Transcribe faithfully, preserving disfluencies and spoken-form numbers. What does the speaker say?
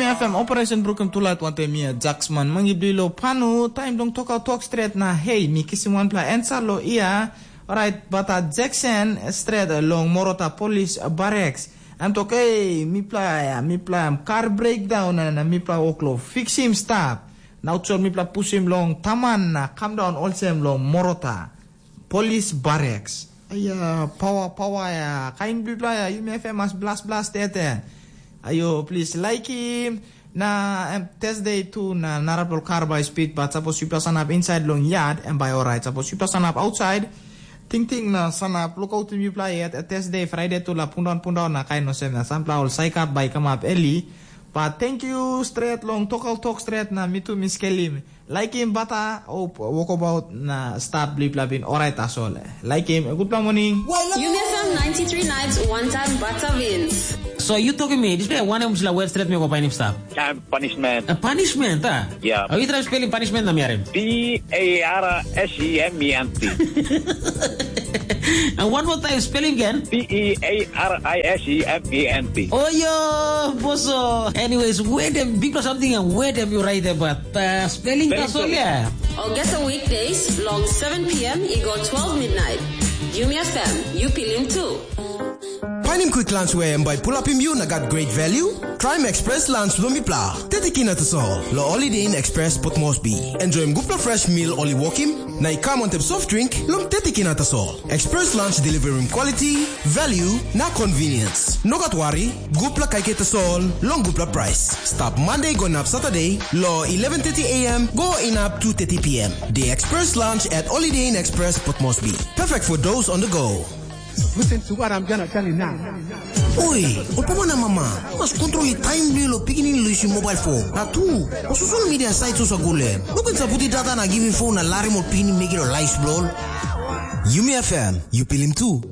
F M Operation Brukim Tulait wantaim mi Jaksman mangi bilong panu taim dong tokaut tok stret na hei mi kisim wanpela ansa lo ia. Orait bata Jackson stret long Morota Polis Barracks. Em tok ei mipela ya mipela em kar breakdown na na mipela wok lo fiksim stap. Na utsol mipela pusim long taman na kam daun olsem long Morota Polis Barracks. Aia pawa pawa ya kain bipela ya yumi F M mas blas blas tete. Ayo plis laikim. Na em Thursday tu na narapela kar bai speed bat sapos yupela sanap inside long yard em bai orait sapos yupela sanap outside. Tingting na sanap lukautim yupela yet Thursday Friday tu la pundaun pundaun na kain olsem na sampela ol saikap bai kamap eli. But thank you stret long tokal tok stret na mitu mi skelim. Laikim bata o wokabaut na stap blipla bin orait tasol. Laikim gutpela moning. Yumi F M ninety-three nights one time bata wins. So you talking me, this way one em sila wet stret me go painim stap. Time punishment. A punishment, ah? Yeah. Are you trying spelling punishment na miarim? P A R S E M E N T. And one more time, spelling again. P E A R I S E M E N T. Oh yo, boso. Anyways, where them big or something and where them you write about uh, spelling that's all, yeah. Or get a weekdays long seven p.m. Igo twelve midnight. Yumi F M, you pilim too. Painim quick lunch where em bai pull up him you na got great value. Try him express lunch lo mipla. Tete kina tasol. Lo Holiday Inn Express Port Moresby. Enjoy him gupla fresh meal oli wokim. Na i kam on tep soft drink long tete kina tasol. Express lunch delivering quality, value na convenience. No gat worry, gupla kaikai tasol long gupla price. Stap Monday go inap Saturday lo eleven thirty a.m. go inap two thirty p.m. The Express Lunch at Holiday Inn Express Port Moresby. Perfect for those on the go. Listen to what I'm gonna tell you now. Oi, opama na mama, mas kontrol i taim bilong lo pikinini lo isim mobile phone. Na tu, o social media site so sagule. Look at saputi data na giving phone na larim ol pikinini make it a life bro. Yumi F M, you pilim too.